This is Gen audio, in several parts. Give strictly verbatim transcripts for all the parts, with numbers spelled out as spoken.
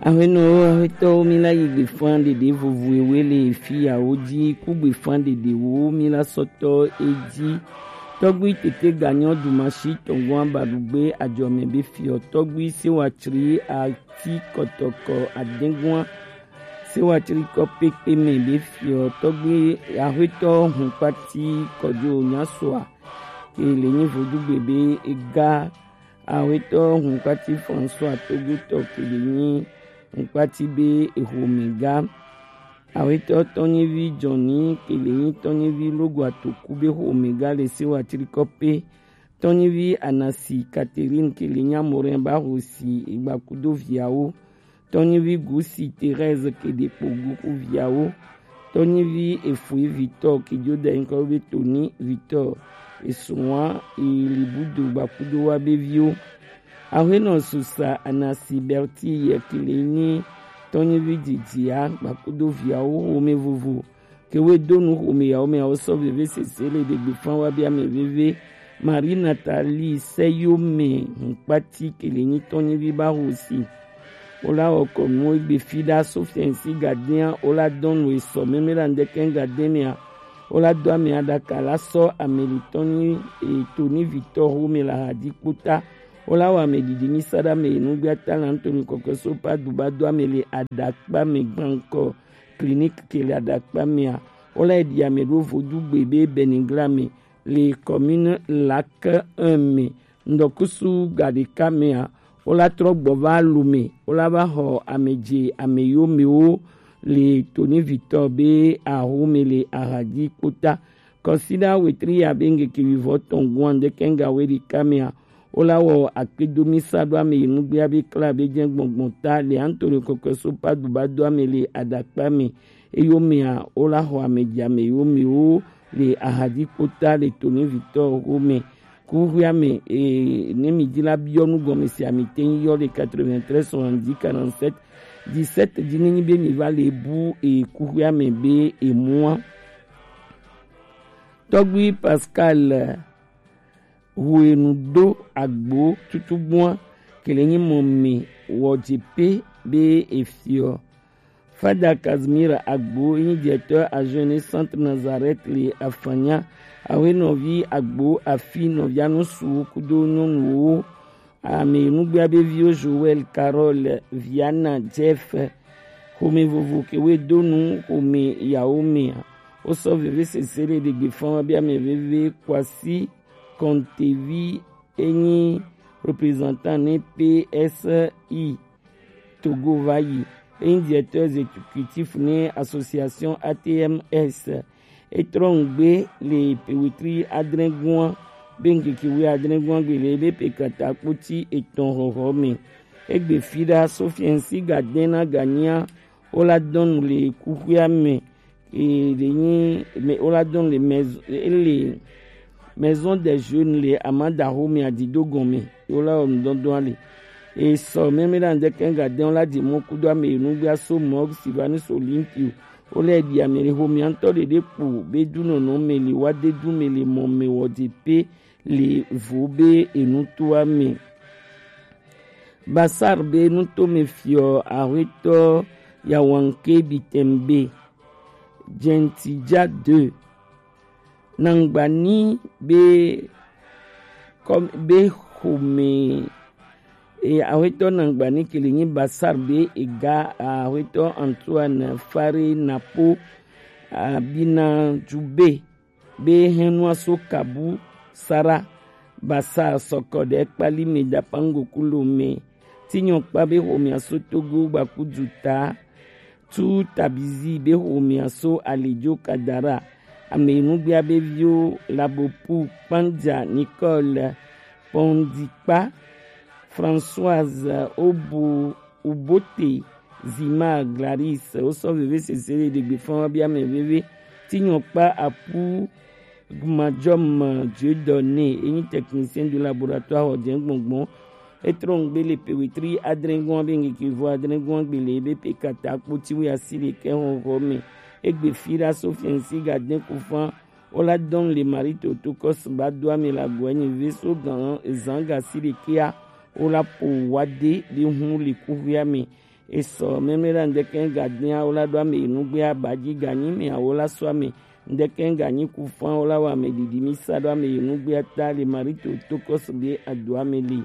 Ahuenɔwo, ahuetɔwo, mi la yi gbefan ɖeɖe vovo ewe le fiyawo ji, ku gbefan ɖeɖewo mi la sɔtɔ eji. Tɔgbi tete ganyɔ dumashi tɔngua badugbe ajɔme be fiɔ tɔgbi sewa tsri ati kɔtɔkɔ adengua sewa tsri kɔ pekpe me be fiɔ tɔgbi ahuetɔ hun kpati kɔjo nyasoa ke le nyi vodugbe be ega. Awetɔ Hunkpati François Togutɔ ke le nyi Hunkpati be exomega. Awetɔ Tɔnyivi Jɔni ke le nyi Tɔnyivi Logo Atoku be xomega le Sewa Trikɔpe. Tɔnyivi Anasi Catherine ke le nyi Amorɛn ba xosi egbakudo viawo. Tɔnyivi Gusi Thérèse ke ɖe kpo guku viawo. Tɔnyivi Efui Victor ke jo da nyikɔ be Toni Victor. Esuwa Elibudo gbakudo wa be viwo. Ahuenɔ Susa Anasi Berti yɛ ke le nyi Tɔnyivi Didia gbakudo viawo xome vovo. Ke we do nu xome yawo me awo sɔ veve sese le ɖe gbe fan wa bia me veve. Marie Nathalie Seyome Hunkpati ke le nyi Tɔnyivi ba xosi. Wo la wɔ kɔ nu egbe fi ɖa Sofiɛnsi Gadɛn a, wo la dɔn nu esɔ mɛmɛ la ŋdɛkɛ Gadɛn mɛ a. Wo la do ame aɖaka la sɔ ame le Tɔnyi e Toni Victor xome la ha di kpota. Wo la wɔ ame didi mi sa ɖa me enugbe ata la Anthony Kɔkɔe so pa du ba do ame le aɖakpa me gbankɔ clinique ke le aɖakpa mea. Wo la ɖi ame ɖo vodu gbe be Benigla me le commune Lac un me. Ŋdɔkusu gaɖeka mea, wo la trɔ gbɔ va Lome, wo la va xɔ ame dze ame yomewo le Toni Victor be axome le Ahadzi kpota. Kɔsiɖa wetri ya be ŋkeke wivɔ tɔn gɔn ŋdɛkɛ ŋga we ɖeka mea, wo la wɔ akpedomi sa ɖo ame yi nugbea be kla be jɛ gbɔngbɔn ta le Anthony Kɔkɔe so pa du ba do ame le aɖakpa me. Eyomea, wo la xɔ ame dze ame yomewo le Ahadzi kpota le Toni Victor xome. Kuxuia me, e, ne mi di la biɔ nu gɔme se ami te yɔ le quatre-vingt-treize soixante-dix quarante-sept dix-sept di ne nyi be mi va le bu e kuxuia me be e mua. Tɔgbi Pascal Huenu do agbo tutugbua ke le nyi mɔ mi wɔ dze pe be e fiɔ. Fada Casimir Agbo yi nyi directeur adjoint ne Centre Nazareth le Afanya. Awe nɔvi Agbo afi nɔvia nusu kudo nyɔnuwo. Ame nugbea be viwo Joël, Carole, Viana, Jeff. Xome vovo ke we do nu xome yawo mea. Wo sɔ veve sese le ɖegbe fan wa be ame veve Kwasi Kontevi enyi représentant ne P S I. Togo va yi. Enyi directeur exécutif ne association A T M S. Etrɔ ŋgbe le pewetri adrɛgua be ŋkeke wi adrɛgua gbe le ebe pe kata kpoti etɔn xɔxɔ me. Egbe fi ɖa Sofiɛnsi ga dɛn na ganyia wo la dɔn le kuxuia me. E le nyi me wo la dɔn le maison, e le maison des jeunes le amadaxo me adido gɔme. Wo la wɔ nudɔdɔn ale. E sɔ mɛmɛ la ŋdɛkɛ ga dɛn wo la di mɔ kudo ame yi nugbea so mɔ Silvanus Olympio. Wo la di ame le xomia ŋtɔ ɖeɖe kpo be du nɔnɔ me le wa de du me le mɔ me wɔ de pe le vo be enutoa me. Basar be nuto me fiɔ ahwetɔ Yawanke Bitembe Gentija deux. Nangbani be kɔm be xome e ahwetɔ Nangbani ke le nyi Basar be ega ahwetɔ Antoine Fare Napo Abina Jube be hɛnua so kabu sara basa sɔkɔ ɖe kpali me dapango kulo me. Tinyɔ kpa be xomia so Togo gbaku duta. Tu tabizi be xomia so alijo kadara. Ame nugbea be viwo Labopu Kpanja Nicole Pondikpa Françoise Obo Ubote Zima Glaris wo sɔ veve sese le ɖegbe fan wa bia me veve. Tinyɔ kpa apu Gmadjɔm Dieudonné enyi technicien de laboratoire xɔ dɛn gbɔngbɔn. Etrɔ ŋgbe le pewetri adrɛgɔn be ŋkeke vo adrɛgɔn gbe le ebe pe kata kpoti wi asi ɖekɛ xɔxɔ me. Egbe fi ɖa Sofiɛnsi ga dɛn kufan wo la dɔn le Marie Totokɔs ba do ame la gɔ enyi ve so gan ezan ga si ɖekɛa wo la po wa de be hun le kuxuia me. Esɔ mɛmɛ la ndɛkɛ ga dia o la ɖo ame yi nugbe aba ji ga nyi mɛ awo la sɔ ame ndɛkɛ ga nyi ku fan o la wa ame ɖiɖi mi sa ɖo ame yi nugbe ata le Marito to kɔsu be ado ame le.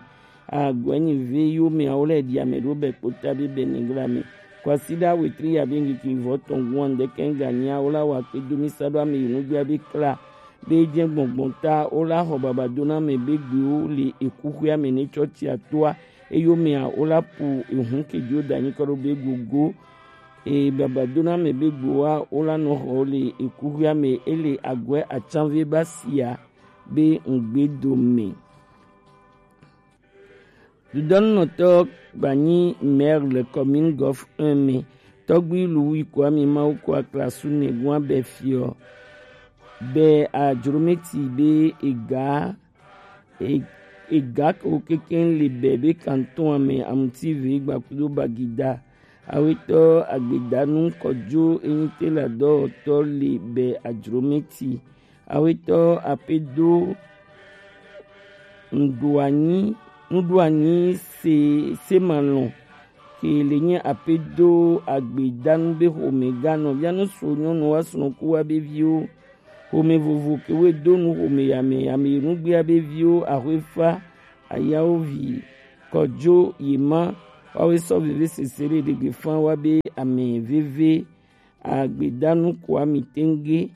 Agwɛnyi ve yo mɛ awo lɛ ɖi ame ɖo bɛ kpota be bɛ nigla mɛ. Kwasi ɖa wetri ya be ngiki vɔ tɔn gun ndɛkɛ ga nyi awo la wa kpe do mi sa ɖo ame yi nugbe be kla be jɛ gbɔngbɔn ta o la xɔ baba do na mɛ be gbe o le eku xwe ame ne tsɔ tsi atoa. Eyome a, wo la pu ehun kejo da nyi kɔ ɖo be gogo. E baba do na mɛ be gboa wo la nɔ xɔ le ekuxia mɛ ele agwɛ atsanve ba sia be ŋgbe do mɛ. Dudɔnunɔtɔ gbanyi maire le commune Golf un mɛ. Tɔgbi Louis Kwame Mawu ko aklasu ne gua bɛ fiɔ. Bɛ ajrometi be ega e- ega ko keke le bɛ be kanton ame amuti ve gbakudo bagida. Awetɔ agbedanu kɔjo enyite la dɔwɔtɔ le bɛ ajrometi. Awetɔ apedo nuɖoanyi nuɖoanyi se semalɔn ke le nye apedo agbedanu be xome ganɔ bianu so nyɔnu wa srɔ̃ku wa be viwo. Xome vovo ke woe do nu xome ya me, ame yi nugbea be viwo, Axwefa, Ayawovi, Kɔdzo, Yema, woawoe sɔ veve sese ɖe ɖegbe fã wa be ame veve agbedanu koa mi tenge.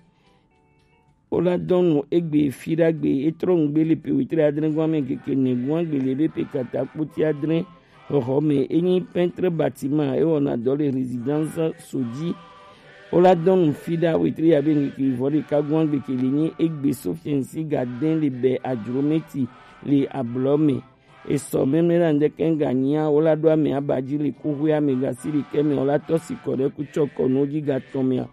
Wo la dɔn nu egbe fi ɖagbe e trɔ nugbe le pe wetri adre gɔn ame keke ne gɔn agbe le be pe kata kpoti adre xɔxɔ me. Enyi peintre bâtiment e wɔna dɔ le résidence Sodzi. Wo la dɔn nu fi ɖa wetri ya be ŋkeke vɔ ɖeka gɔn agbe ke le nyi egbe Sofiɛnsi ga dɛn le bɛ ajrometi le ablɔ me. Esɔ mɛmɛ la ŋdɛkɛ ŋga nyia wo la ɖo ame aba dzi le kuxwe ame gasi ɖekɛ me wo la tɔ si kɔ ɖe kutsɔ kɔnu dzi ga tɔn mea.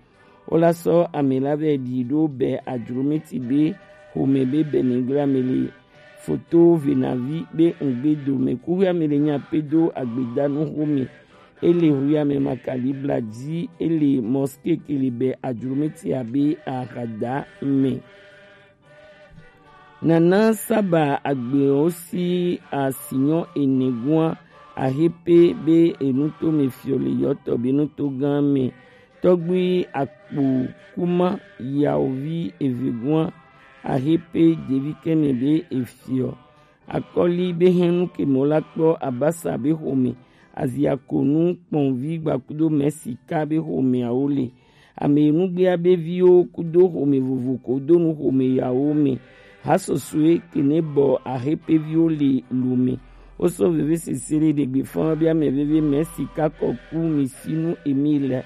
Wo la sɔ ame la vɛ ɖi ɖo bɛ ajrometi be xome be bɛ nigla me le foto venavi be ŋgbe do me kuxwe ame le nya pe do agbedanu xome. Ele xwe ame makali bla dzi ele mosquée ke le bɛ ajrometi abe ahada me. Nana saba agbewo si asinyɔ ene gua ahepe be enuto me fiɔ le yɔtɔ be nuto gã me. Tɔgbui akpo kuma yawovi eve gua ahepe devi kɛmɛ be efiɔ. Akɔli be hɛnu kemɔ la kpɔ abasa be xome aziakonu kpɔnvi gbakudo mɛsika be xome awo le. Ame nugbea be viwo kudo xome vovo ko do nu xome yawo me. Hasɔsɔe kene bɔ ahepe viwo le lo me. Wo sɔ veve sese ɖe ɖegbe fɔn be ame veve mɛ sika kɔku mi sinu emi le.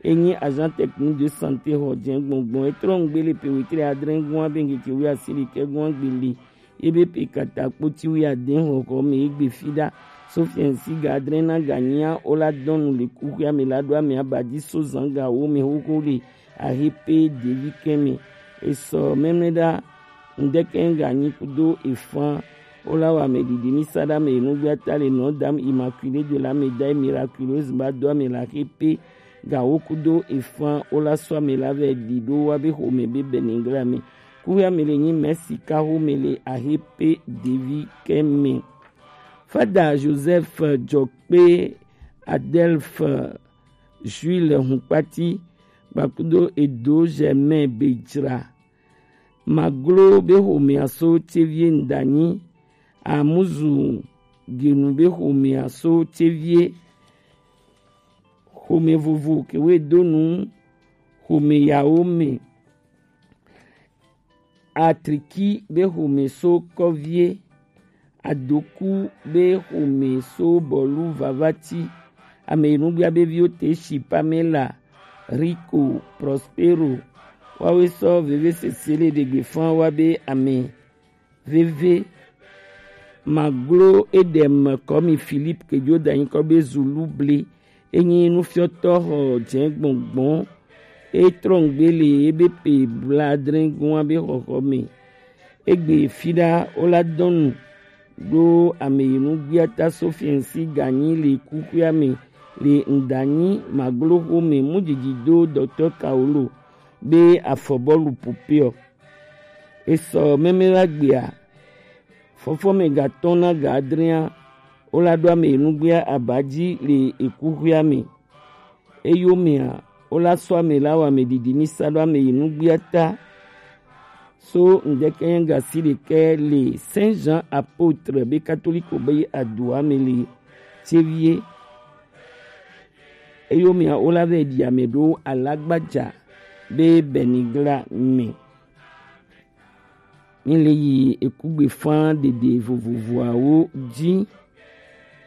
Enyi agent technique de santé xɔ dze gbɔngbɔn etrɔ ŋgbe le pe wetri adre gɔn abe ŋkeke wi asi ɖekɛ gɔn agbe le. Ebe pe kata kpoti wi ade xɔxɔ me egbe fi ɖa. Sofiɛnsi ga adre na ga nyia wo la dɔn nu le kuxwe ame la ɖo ame abadi so zan ga wo me xoxo le. Ahe pe devi kɛmɛ. Esɔ mɛmɛ ɖa ŋdɛkɛ ŋga nyi kudo efan. Wo la wa me ɖiɖi mi sa ɖa me enugbe ata le nɔ dam immaculée de la médaille miraculeuse ba do ame la ahe pe ga wo kudo efan wo la sɔ ame la vɛ ɖi ɖo wa be xome be bɛ ningla me. Kuxwe ame le nyi mɛ sika xome le ahe pe devi kɛmɛ. Fada Joseph Jɔkpe, Adelphe, Jules Hunkpati, kpakudo Edo Germain Bejra. Maglo be xomea so tevie ŋdanyi. Amuzu genu be xomea so tevie. Xome vovo kewe do nu xome yawo me. Atriki be xome so kɔvie. Adoku be xome so bɔlu vavati. Ame yi nugbea be viwo te si Pamela, Rico, Prospero. Wawe sɔ veve sese le ɖegbe fan wa be ame veve. Maglo Edem kɔmi Philippe kejo da nyikɔ be Zulu ble. Enyi nufiɔtɔ xɔ dze gbɔngbɔn. Etrɔ ŋgbe le ebe pe bladre gɔn be xɔxɔ me. Egbe fi ɖa wo la dɔn nu ɖo ame yi nugbia ta Sofiɛnsi ganyi le kuxwea me le ŋdanyi maglo xome mu dzidzi do dɔktɔ Kaolo be afɔbɔlu popeɔ. Esɔ mɛmɛ la gbea, fɔfɔmɛ gatɔn na ga adrea, Wo la ɖo ame yi nugbea aba ji le ekuxwea me. Eyomea, wo la sɔ ame la wɔ ame ɖiɖi mi sa ɖo ame yi nugbea ta. So ŋdɛkɛ nyɛ gasi ɖekɛ le Saint Jean Apôtre be katoliko be adoa me le tevie. Eyomea, wo la vɛ ɖi ame ɖo alagbaja be Benigla me. Mi le yi ekugbe fan ɖeɖe vovovoawo ji.